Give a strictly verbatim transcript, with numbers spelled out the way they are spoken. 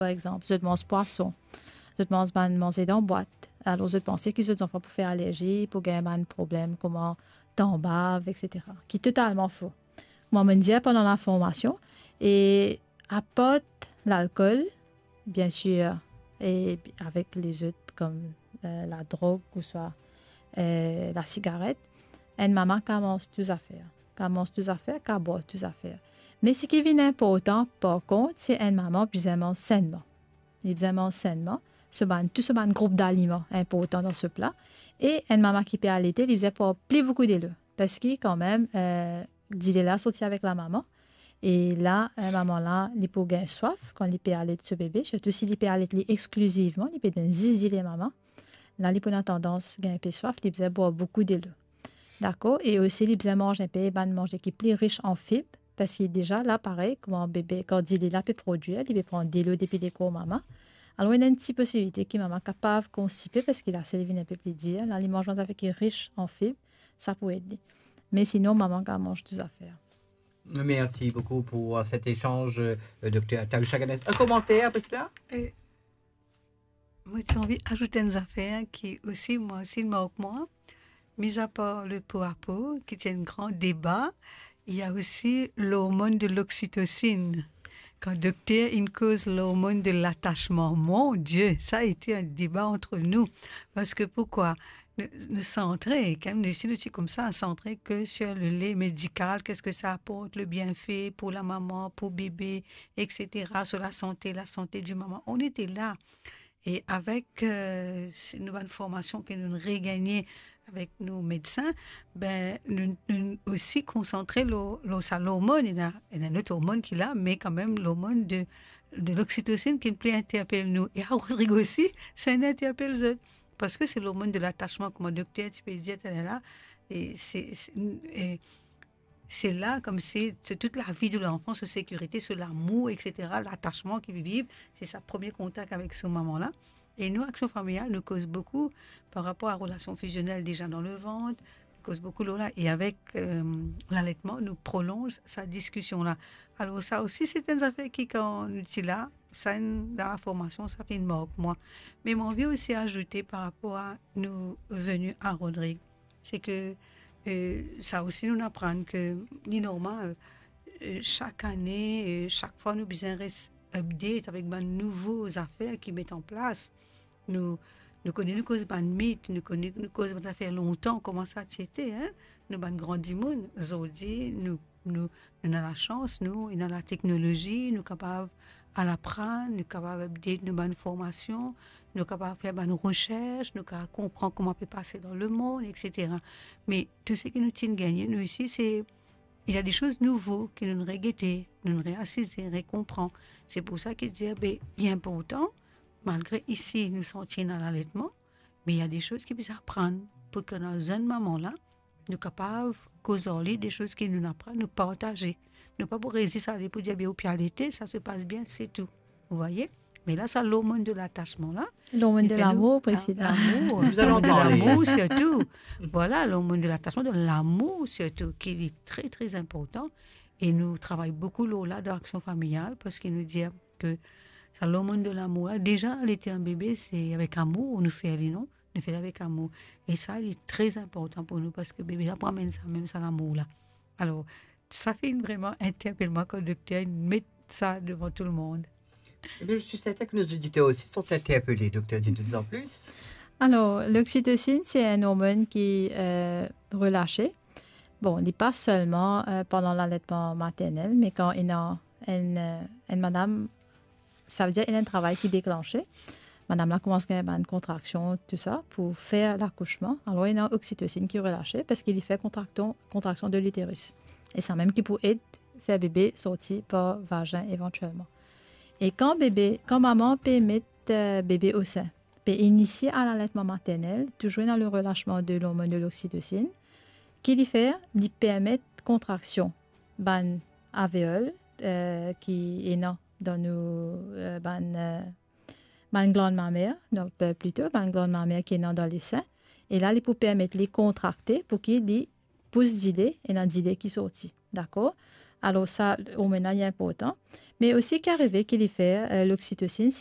par exanp, zot manz pwason, zot manz bann manze dan bwat, alor zot panse ki zot zanfan pou fer alerzi, pou gagn bann problem kouma tanbav, et cetera. Ki totalman fo. Mwa, mo'nn dir pandan laformasion, e apart lalkol, bien sir, e avek lezot kom, eh, ladrog ouswa, eh, lasigaret, enn mama kav manz tou zafer, kav manz tou zafer, kav bwar tou zafer. Me seki vinn inportan, par kont, se enn mama bizin manz sennman. Li bizin manz sennman, so bann, tou so bann group daliman inportan dan so pla. E enn mama ki pe alete, li bizin bwar pli boukou delo. Parski kanmem, eh, dile la sorti avek lamama. E la, eh, mama la, li pou gagn swaf kan li pe alet so bebe, sirtou si li pe alet li exklizivman, li pe donn zis dile mama. La, li pou ena tandans gagn inpe swaf, li bizin bwar boukou delo. Dakor? E osi, li bizin manz inpe bann manze ki pli ris an fib, parski deza la, parey, kouma bebe, kan dile la pe prodwir, li pe pran delo depi lekor mama. Alor, ena enn ti posibilite ki mama kapav konstipe, parski lasel li vinn inpe pli dir. La, li manz bann zafer ki ris an fib, sa pou ed li. Me sinon, mama kav manz tou zafer. Merci beaucoup pour, euh, cet échange, euh, docteur Talusha Ganesh. Un commentaire, peut-être là? E mo ti anvi azout enn zafer ki osi, mwa osi, li mark mwa. Mis apar le po a po, ki ti enn gran deba, il y a aussi l'hormone de l'oxytocine. Kan dokter inn koz l'hormone de l'attachement, mon Dieu, ça a été un débat entre nous. Parce que pourquoi? Nou, nou santre, kan nou, si nou ti koumsa, santre ke sur le lien médical, qu'est-ce que ça apporte, le bienfait pour la maman, pour bébé, et cetera, sur la santé, la santé du maman. On était là. E avek, euh, s-, nou bann formasion ke nou regagne avek nou medsin, ben, nou, nou osi konsantre lor, lor sa lormonn, ena, ena enn lot ormonn ki la, me kanmem lormonn de, de l'oxytocine ki pli interpel nou. E a Rodrig osi, sa inn interpel zot. Parski se lormonn de l'attachement, kouma dokter ti pe dir taler la, e se, se, e se la, koumsi, se tout lavi de lanfan, so sekirite, so lamour, et cetera, l'attachement ki li viv, se sa premie kontak avek so mama la. E nou, Action Familiale, nou koz boukou par rapor a relasion fusionnelle deza dan levant, nou koz boukou lor la, e avek, euh, l'aletman, nou prolonz sa diskision la. Alor, sa osi, se enn zafer ki, kan nou ti la, sa inn, dan laformasion, sa finn mark mwa. Me mo anvi osi azoute par rapor a nou veni a Rodrig, se ke, euh, sa osi nou aprann ke li normal, euh, sak ane, euh, sak fwa nou bizin res update avek bann nouvo zafer ki met an plas. Nou, nou kone nou koz bann mit, nou kone nou koz bann zafer lontan, kouma sa ti ete, hein? Nou bann gran dimoun, zordi, nou, nou, nou ena lasans, nou, ena lateknolozi, nou kapav al aprann, nou kapav update nou bann formasion, nou kapav fer bann resers, nou kapav konpran kouma pe pase dan lemond, et cetera. Me tou seki nou ti'nn gagne, nou isi, se, il y a des choses nouveaux ki nou regete, nou reasize, rekonpran. Se pou sa ki dir, be, li inportan, malgre isi, nou santi ena laletman, me il y a des choses ki bizin aprann pou ki nou zenn mama la, nou kapav koz ar li de soz ki nou aprann, nou partaze. Nou pa pou rezis ale pou dir, "Be, ou pe alete, sa se pas bien," se tou. Vous voyez? Me la, sa lormonn de l'attachement la, Lormonn li de fer nou, lamour, ah, Priscilla. Lamour, Nous allons lormonn de parler. Lamour surtout. Voilà, lormonn de l'attachement, de l'amour surtout, ki est très, très important. E nou travay boukou lor la dan Action Familiale, parski nou dir ke sa lormonn de lamour la, deza, alete enn bebe, se avek amour nou fer li, non? Nou fer li avek amour. E sa, li tre inportan pou nou, parski bebe la pou amenn sa, mem sa lamour la. Alor, sa finn vreman interpel mwa kan dokter met sa devan tou lemond. Eh bien, je suis certaine que nos auditeurs aussi sont interpellés, docteur, dites-nous en plus. Alor, l'oxytocine, se enn ormonn ki, euh, relase. Bon, li pa selman, euh, pandan laletman maternel, me kan ena enn, euh, enn madam, savedir ena enn travay ki deklanse, madam la koumans gagn bann kontraksion, tou sa, pou fer lakousman. Alor, ena oxytocine ki relase, parski li fer kontraksion, kontraksion de l'utérus. E sa mem ki pou ed fer bebe sorti par vazin evantielman. E kan bebe, kan mama pe met, euh, bebe o sen, pe inisie a laletman maternel, touzour ena le relasman de l'ormonn de l'oxytocine, ki li fer, li permet kontraksion bann alveol, euh, ki ena dan nou, euh, bann, euh, bann glann mamer, donk, euh, plito bann glann mamer ki ena dan lesin. E la, li pou permet li kontrakte pou ki li pous dile, ena dile ki sorti. Dakor? Alor sa, ormonn la, li inportan. Me osi ki arive ki li fer, eh, loksitosinn,